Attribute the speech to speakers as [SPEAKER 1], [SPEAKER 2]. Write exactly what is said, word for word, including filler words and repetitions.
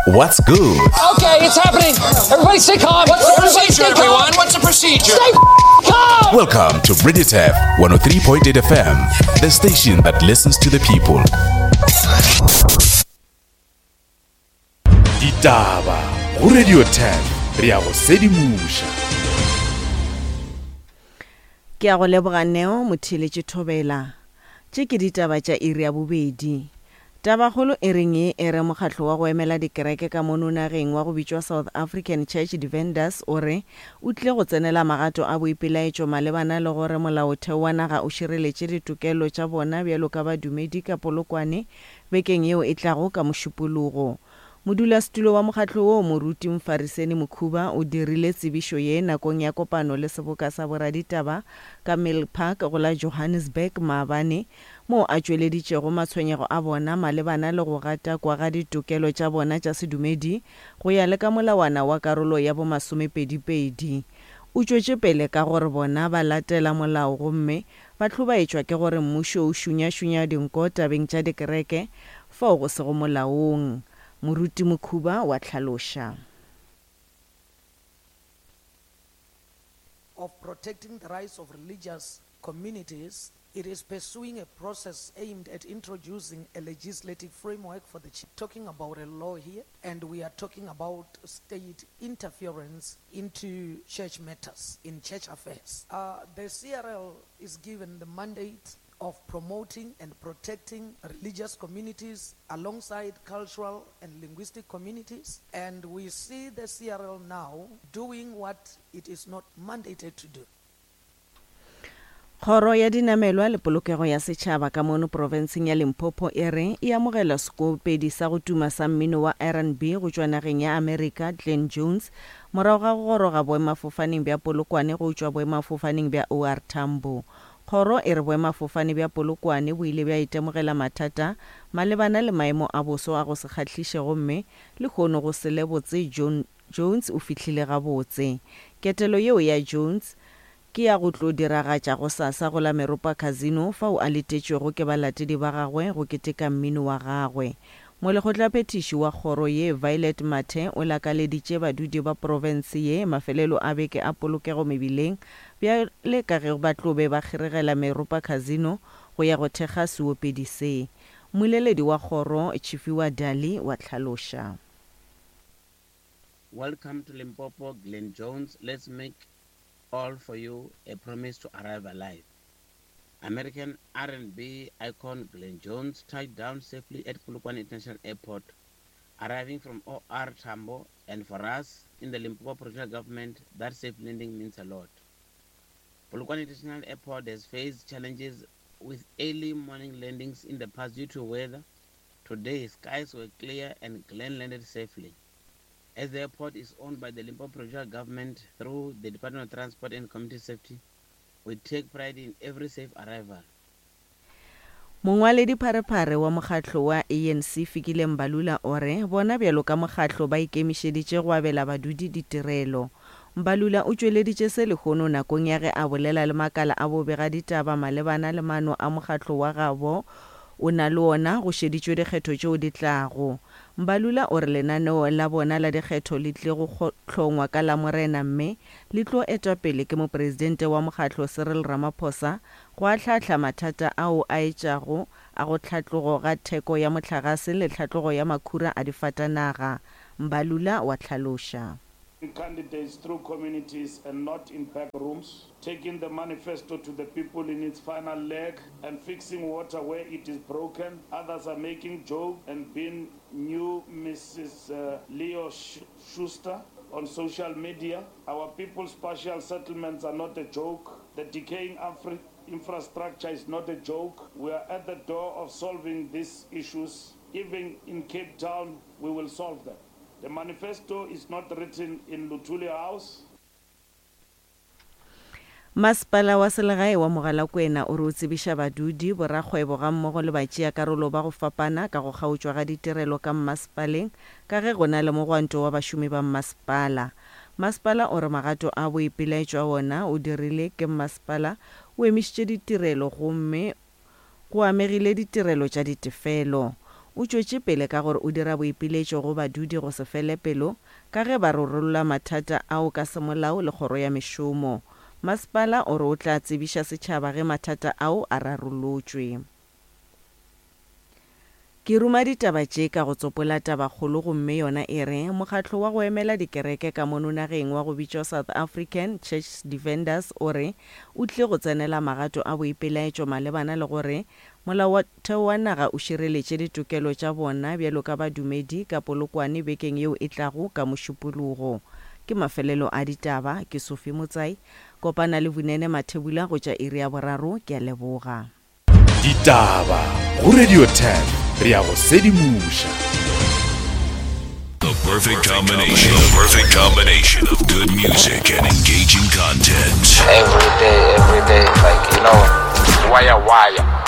[SPEAKER 1] What's good?
[SPEAKER 2] Okay, it's happening. Everybody stay calm.
[SPEAKER 3] What's the
[SPEAKER 2] Everybody
[SPEAKER 3] procedure,
[SPEAKER 2] stay calm.
[SPEAKER 3] everyone? What's the procedure?
[SPEAKER 2] Stay calm.
[SPEAKER 1] Welcome to Radio Turf one oh three point eight F M, the station that listens to the people. Ditaba go Radio Turf, re a go sedimoša.
[SPEAKER 4] Ke a go leboga Neo Motheeletše Thobela. Tše ke ditaba tša iri ya bobedi. Tabakgolo e reng ye e re mokgatlo wa go emela dikereke ka mono nageng wa go bitšwa South African Church Defenders o re o tlile go tsenela magato a boipelaetšo malebana le gore molaotheo wa naga o šireletše ditokelo tša bona bjalo ka badumedi ka Polokwane bekeng yeo e tlago ka Mošupologo. Modulasetulo wa mokgatlo wo Moruti Mfariseni Mokhuba o dirile tsebišo ye nakong ya kopano le seboka sa boraditaba ka Mill Park go la Johannesburg maabane, moo a tšweleditšego matshwenyego a bona malebana le go gatakwa ga ditokelo tša bona tša sedumedi go ya le ka molawana wa karolo ya bomasomepedipedi. O tšwetše pele ka gore bona ba latela molao gomme ba hlobaetšwa ke gore mmušo o šunyašunya dinko tabeng tša dikereke fao go sego molaong. Moruti Mokhuba wa hlaloša.
[SPEAKER 5] Of protecting the rights of religious communities, it is pursuing a process aimed at introducing a legislative framework for the church. Talking about a law here, and we are talking about state interference into church matters, in church affairs. Uh, the C R L is given the mandate of promoting and protecting religious communities alongside cultural and linguistic communities. And we see the C R L now doing what it is not mandated to do.
[SPEAKER 4] Kgoro ya dinamelwa le polokego ya setšhaba ka mono profenseng ya Limpopo e re e amogela sekopedi sa go tuma sa mmino wa R and B go tšwa nageng ya Amerika Glenn Jones morago ga go goroga boemafofaneng bja Polokwane go tšwa boemafofaneng bja O R Tambo. Kgoro e re boemafofane bja Polokwane bo ile bja itemogela mathata malebana le maemo a boso a go se kgahliše gomme lehono go se lebotse John Jones o fihlile gabotse. Ketelo yeo ya Jones ke ya go tlo diragatša go sasa go la Meropa Casino fao a letetšwego ke balatedi ba gagwe go keteka mmino wa gagwe. Molekgotlaphethiši wa kgoro ye Violet Mathe o lakaleditše badudi ba profense ye mafelelo a beke a polokego mebileng bjale ka ge ba tlo be ba kgeregela Meropa Casino go ya go thekga seopedi se. Mmoleledi wa kgoro Tshifhiwa Dali wa hlaloša.
[SPEAKER 6] Welcome to Limpopo, Glenn Jones. Let's make all for you a promise to arrive alive. American R and B icon Glenn Jones touched down safely at Polokwane International Airport, arriving from O R Tambo, and for us in the Limpopo provincial government, that safe landing means a lot. Polokwane International Airport has faced challenges with early morning landings in the past due to weather. Today, skies were clear and Glenn landed safely. As the airport is owned by the Limpopo provincial government through the Department of Transport and Community Safety, we take pride in every safe arrival.
[SPEAKER 4] Mongwaledi pharephare wa mokgatlo wa A N C Fikile Mbalula o re bona bjalo ka mokgatlo ba ikemišeditše go abela badudi ditirelo. Mbalula o tšweleditše se lehono nakong ya ge a bolela le makala a bobega ditaba malebana le maano a mokgatlo wa gabo o na le ona go šeditšwe dikgetho tšeo di tlago. Mbalula o re lenaneo la bona la dikgetho le tlile go kgo-, hlongwa ka Lamorena mme le tlo etwa pele ke mopresidente wa mokgatlo Cyril Ramaphosa go ahlahla mathata ao a etšago a go tlhatlogo ga theko ya mohlagase le tlhatlogo ya makhura a difatanaga. Mbalula wa hlaloša.
[SPEAKER 7] Candidates through communities and not in back rooms, taking the manifesto to the people in its final leg and fixing water where it is broken. Others are making joke and being new Missus Uh, Leo Sh- Schuster on social media. Our people's partial settlements are not a joke. The decaying Afri- infrastructure is not a joke. We are at the door of solving these issues. Even in Cape Town, we will solve them. The manifesto is not written in Luthuli House.
[SPEAKER 4] Masepala wa selegae wa Mogalakwena o re o tsebiša badudi, borakgwebo gammogo le batšeakarolo ba go fapana ka go kgaotšwa ga ditirelo ka mmasepaleng ka ge go na le mogwanto wa bašomi ba mmasepala. Masepala o re magato a boipelaetšo a wona o dirile ke mmasepala o emišitše ditirelo gomme go amegile ditirelo tša ditefelo. O tšwetše pele ka gore o dira boipiletšo go badudi go se fele pelo ka ge ba rarolla mathata ao ka semolao le kgoro ya mešomo. Masepala o re o tla tsebiša setšhaba ge mathata ao a rarolotšwe. Ke ruma ditaba tše ka go tsopola tabakgolo gomme yona e re mokgatlo wa go emela dikereke ka mono nageng wa go bitšwa South African Church Defenders o re o tlile go tsenela magato a boipelaetšo malebana le gore molaotheo wa naga o šireletše ditokelo tša bona bjalo ka badumedi ka Polokwane bekeng yeo e tlago ka Mošupologo. Ke mafelelo a ditaba, ke Sophie Motsai. Kopana le Vunene Mathebula go tša iri ya boraro, ke a leboga.
[SPEAKER 1] Ditaba go Radio ten, re ya go sedimoša.
[SPEAKER 3] The perfect combination. The perfect combination of good music and engaging content.
[SPEAKER 8] Every day, every day, like, you know, wire, wire.